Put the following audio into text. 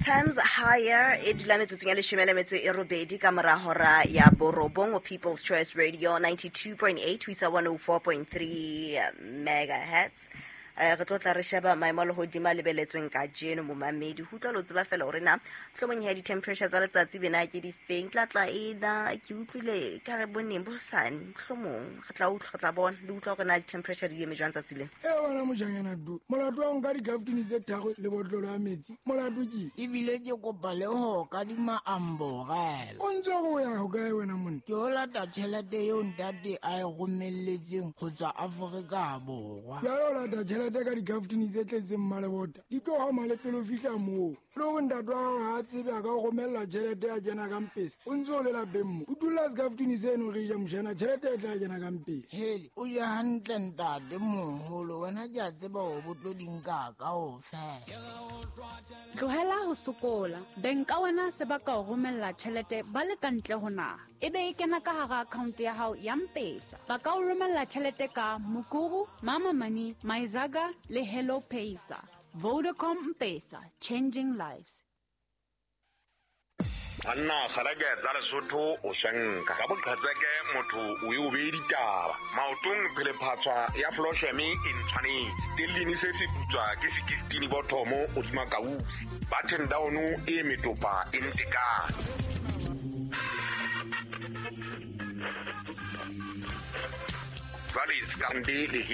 Times Higher e dula metsotsong ya leshome le metso e robedi ka mora hora ya borobong ho People's Choice Radio 92.8 ho isa 104.3 megahertz. Re tlo tla re sheba maemo a lehodimo a lebeletsweng kajeno momamedi. Ho utlwa le ho tseba fela hore na mohlomong he di-temperature tsa letsatsi bena ke difeng. Tla tla e na ke utlwile ka re boneng bosane mohlomong re tla utlwa, re tla bona le utlwa hore na di-temperature di eme jwang tsatsi lena. E wena mojanyana du, molato wa ho nka dikaftini tse tharo le botlolo ya metsi, molato ke? Ebile ke kopa le ho kadima amborela. O ntse o ya hokae wena monna? Ke o lata tjhelete eo ntate a e romelletseng ho tswa Afrika Borwa. Jwale o lata tjhelete ka dikaftini tse tletseng mmalebota, di tlo hama le pele o fihla moo. E le hore ntate wa hao ha a tsebe a ka o romella tjhelete ya kena ka mpesa, o ntse o le lapeng mo. O dulla sekaftini seno re ja mojana, tjhelete e tla kena ka mpesa. Hele, o je hantle ntate moholo, wena ke a tseba hore bo tlo di nka kaofela. Tlohela ho sokola. Beng ka wena se ba ka o romella tjhelete ba le ka ntle ho naha. E be e kena ka hara account ya hao ya Mpesa. Ba ka o romella tjhelete ka Mukuru, Mama Money, Myzaga le Hello Paysa. Vodacom Mpesa, changing lives. Banna kgalake tsa Lesotho o shanka ka boqhetseke motho o e o beye ditaba maotong phelephatswa ya flosheme e ntshwanetse stellini se se putswa ke sekistini bothomo hodima kausi button down e metopa e ntekane jwale skande le.